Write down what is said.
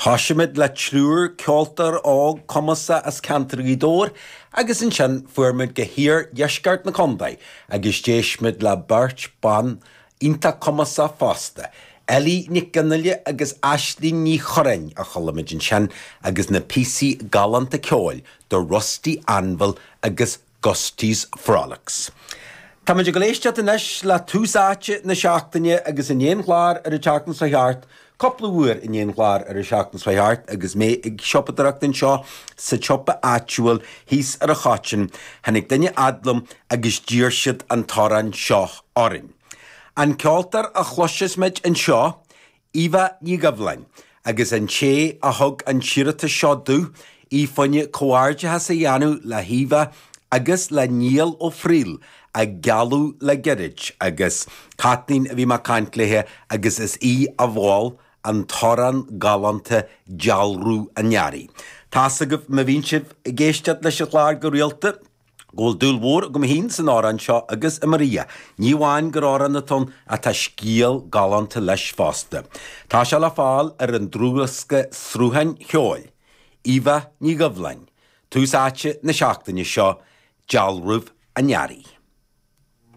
Thoisigh muid le triúr ceoltóir óg cumasach as ceantar Ghaoth Dobhair agus ansin fuair muid go hiardheisceart na contae agus d'éist muid le beirt ban iontach cumasach fosta, Ellie Nic Fhionnghaile agus Aislinn Ní Churráin a chuala muid ansin agus na píosaí galánta ceoil The Rusty Anvil agus Gusty's Frolics. Tá muid ag dul éisteacht anois le tús áite na seachtaine agus i ndiaidh an chláir ar an tseachtain seo thart, cúpla uair i ndiaidh an chláir ar an seachtain seo thart agus mé ag siopadóireacht anseo sa tsiopa áitiúil thíos ar an Choitín, tháinig duine fhad liom agus d'iarr siad an t-amhrán seo orainn. An ceoltóir a chloisfeas muid anseo, Eva Ní Dhoibhleáin, agus an té a thug an t-iarratas seo domh, í fá choinne comhghairdeachas a dhéanamh le hEva agus le Niall Ó Frighil a gealladh le gairid, agus Caitlín a bhí mé ag caint léithe agus is í a mhol an t-amhrán galánta Dealramh an Earraigh. Tá's agaibh má bhíonn sibh ag éisteacht leis an chlár go rialta, go bhfuil dúil mhór agam féin san amhrán seo agus i mo Ria, ní amháin gur amhrán atá ann ach tá scéal galánta leis fosta. Tá sé le fáil ar an dlúthdhiosca Srutháin Cheoil, Eva Ní Dhoibhleáin, tús áite na seachtaine seo, Dealramh an Earraigh.